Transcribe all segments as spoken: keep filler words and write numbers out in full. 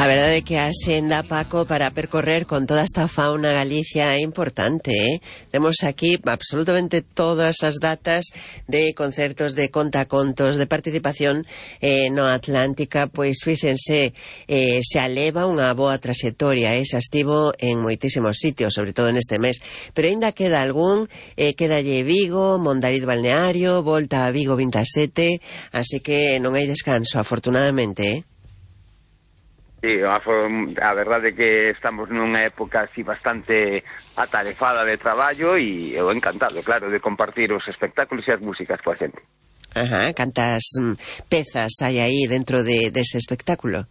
A verdade é que a senda, Paco, para percorrer con toda esta fauna Galicia é importante, eh? Temos aquí absolutamente todas as datas de concertos, de contacontos, de participación eh, no Atlántica, pois fíxense, eh, se aleva unha boa traxectoria, eh? Xa estivo en moitísimos sitios, sobre todo neste mes, pero aínda queda algún, eh, quedalle Vigo, Mondariz Balneario, volta a Vigo vinte e sete, así que non hai descanso, afortunadamente, eh? Sí, a, a verdade é que estamos nunha época así bastante atarefada de traballo e eu encantado, claro, de compartir os espectáculos e as músicas coa xente. Ajá, cantas mm, pezas hai aí dentro de, dese espectáculo?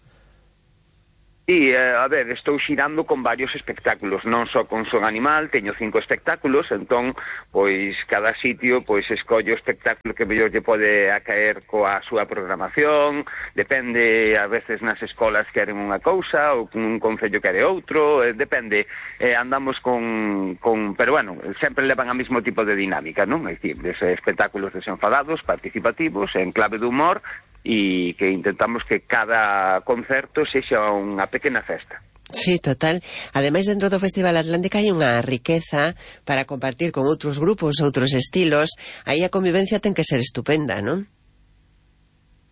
Sí, eh, a ver, estou xirando con varios espectáculos, non só con Son Animal, teño cinco espectáculos, entón, pois, cada sitio, pois, escollo o espectáculo que mellor lle pode acaer coa súa programación, depende, a veces nas escolas queren unha cousa, ou un concello quere outro, eh, depende, eh, andamos con, con, pero bueno, sempre levan a mismo tipo de dinámica, non? É dicir, dese espectáculos desenfadados, participativos, en clave de humor, e que intentamos que cada concerto sexa unha pequena festa. Sí, total. Ademais, dentro do Festival Atlántica hai unha riqueza para compartir con outros grupos, outros estilos. Aí a convivencia ten que ser estupenda, non?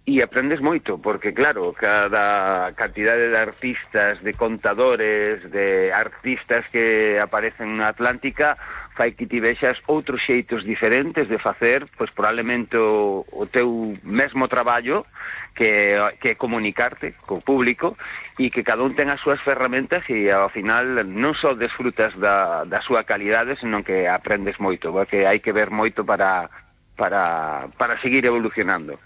E aprendes moito, porque claro, cada cantidade de artistas, de contadores, de artistas que aparecen na Atlántica fai que ti vexas outros xeitos diferentes de facer, pois probablemente o, o teu mesmo traballo, que, que é comunicarte co público, e que cada un ten as súas ferramentas e ao final non só desfrutas da, da súa calidade, senón que aprendes moito, porque hai que ver moito para, para, para seguir evolucionando.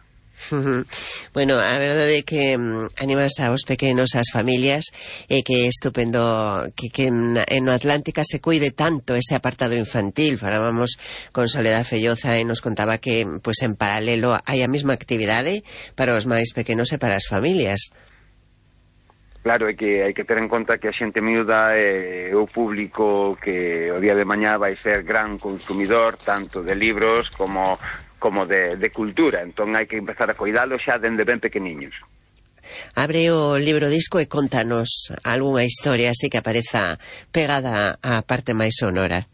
Bueno, a verdade é que mm, animas aos pequenos, ás familias, e que é estupendo que, que en no Atlántica se cuide tanto ese apartado infantil. Falábamos con Soledad Felloza e nos contaba que pues, en paralelo hai a mesma actividade para os máis pequenos e para as familias. Claro, é que hai que ter en conta que a xente miúda é o público que o día de mañá vai ser gran consumidor tanto de libros como como de, de cultura, entón hai que empezar a cuidalo xa dende ben pequeniños. Abre o libro disco e contanos algunha historia así que apareza pegada á parte máis sonora.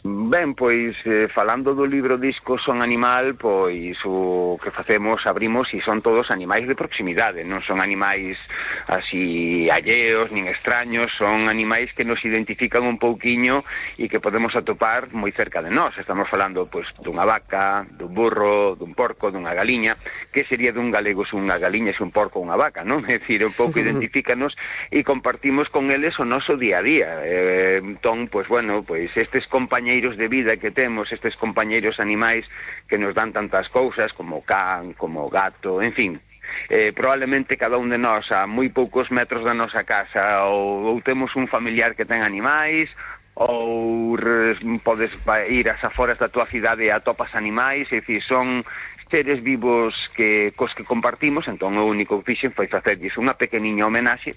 Ben, pois, eh, falando do libro disco Son Animal, pois o que facemos, abrimos e son todos animais de proximidade, non son animais así alleos, nin extraños, son animais que nos identifican un pouquiño e que podemos atopar moi cerca de nós. Estamos falando, pois, dunha vaca, dun burro, dun porco, dunha galiña. Que sería dun galego se unha galiña, se un porco ou unha vaca, non? É dicir, un pouco identifícanos e compartimos con eles o noso día a día. Eh, entón, pois, bueno, pois, estes compañeiros de vida que temos, estes compañeiros animais que nos dan tantas cousas como can, como gato, en fin, eh, probablemente cada un de nós a moi poucos metros da nosa casa ou, ou temos un familiar que ten animais ou res, podes ir ás aforas da tua cidade e atopas animais, é dicir, son seres vivos que cos que compartimos, entón o único que fixen foi facerlles unha pequeniña homenaxe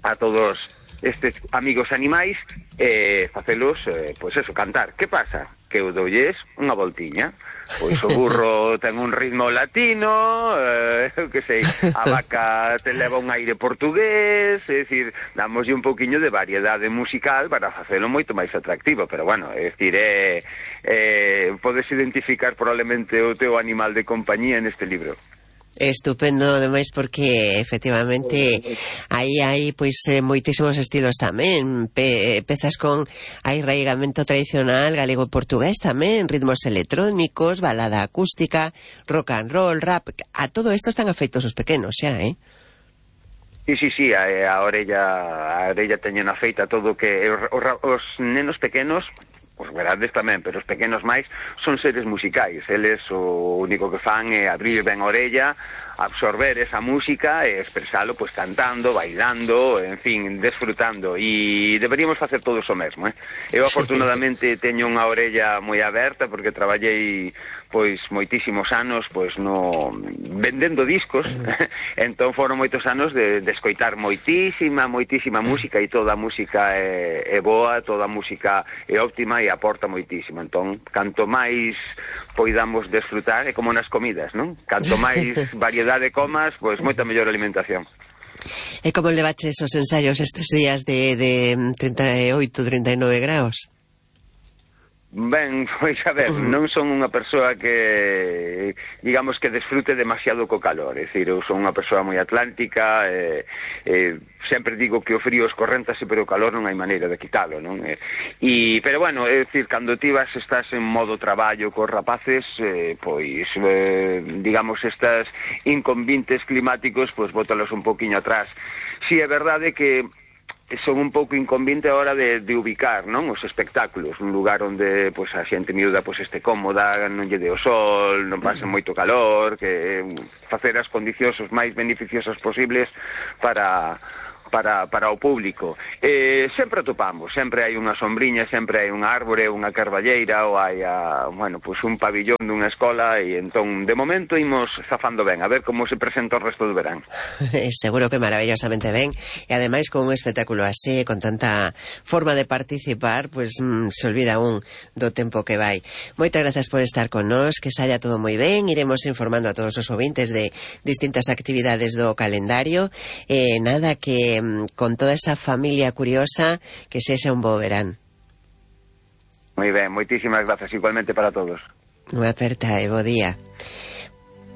a todos estes amigos animais e eh, facelos, eh, pois eso, cantar. Que pasa? Que eu doulles unha voltiña. Pois o burro ten un ritmo latino, eh, eu que sei, a vaca te leva un aire portugués, é dicir, damoslle un pouquiño de variedade musical para facelo moito máis atractivo, pero bueno, é dicir, eh, eh, podes identificar probablemente o teu animal de compañía neste libro. Estupendo, ademais, porque efectivamente aí hai pois eh, moitísimos estilos tamén, pe, pezas con arraigamento tradicional galego-portugués tamén, ritmos electrónicos, balada acústica, rock and roll, rap, a todo isto están afeitos os pequenos xa, eh? Sí, sí, sí, a, a orella a orella teñen afeita todo que os, os nenos pequenos, os grandes tamén, pero os pequenos máis, son seres musicais. Eles o único que fan é abrir ben a orella, absorber esa música e expresalo pois cantando, bailando, en fin, desfrutando. E deberíamos facer todos o mesmo, eh? Eu afortunadamente teño unha orella moi aberta porque traballei pois moitísimos anos pois no vendendo discos, entón foron moitos anos de, de escoitar moitísima, moitísima música e toda a música é, é boa, toda a música é óptima e aporta moitísimo. Entón, canto máis poidamos desfrutar, é como nas comidas, non? Canto máis variedade comas, pois moita mellor alimentación. E como levaches os ensaios estes días de, de trinta e oito, trinta e nove graus? Ben, pois a ver, non son unha persoa que, digamos, que desfrute demasiado co calor, é dicir, eu son unha persoa moi atlántica, e, e sempre digo que o frío escorréntase, pero o calor non hai maneira de quitalo, non? E, e, pero bueno, é dicir, cando ti vas, estás en modo traballo cos rapaces, eh, pois, eh, digamos, estas inconvintes climáticos, pois, bótalos un poquinho atrás. Si é verdade que son un pouco inconvinte a hora de, de ubicar, non, os espectáculos, un lugar onde pois a xente miúda pois este cómoda, non lle dé o sol, non pase moito calor, que facer as condicións os máis beneficiosas posibles para para para o público. Eh, sempre atopamos, sempre hai unha sombriña, sempre hai unha árbore, unha carballeira, ou hai a, bueno, pois un pabillón dunha escola, e entón, de momento, imos zafando ben, a ver como se presenta o resto do verán. Seguro que maravillosamente ben, e ademais con un espectáculo así, con tanta forma de participar, pois mmm, se olvida un do tempo que vai. Moitas grazas por estar con nós, que saia todo moi ben, iremos informando a todos os ouvintes de distintas actividades do calendario, e eh, nada, que con toda esa familia curiosa, que sexa un bo verán. Moi ben, moitísimas grazas, igualmente para todos. Unha aperta e bo día.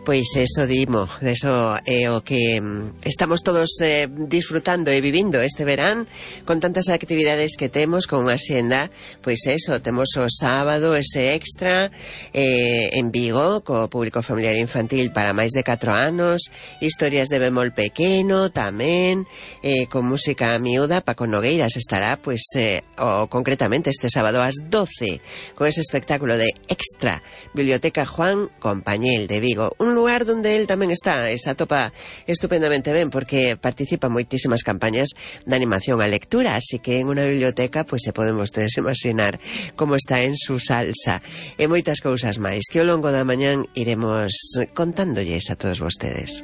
Pois eso dimo, eso é o que estamos todos eh, disfrutando e vivindo este verán, con tantas actividades que temos, con unha xenda, pois eso, temos o sábado ese extra eh, en Vigo, co público familiar infantil para máis de catro anos, historias de bemol pequeno tamén, eh, con música miúda. Paco Nogueiras estará, pois, eh, o, concretamente este sábado ás doce, con ese espectáculo de Extra, Biblioteca Juan Compañel de Vigo, un lugar donde él tamén está, e se atopa estupendamente ben, porque participa en moitísimas campañas de animación a lectura, así que en unha biblioteca pois se poden vostedes imaginar como está en su salsa, e moitas cousas máis que ao longo da mañán iremos contándolles a todos vostedes.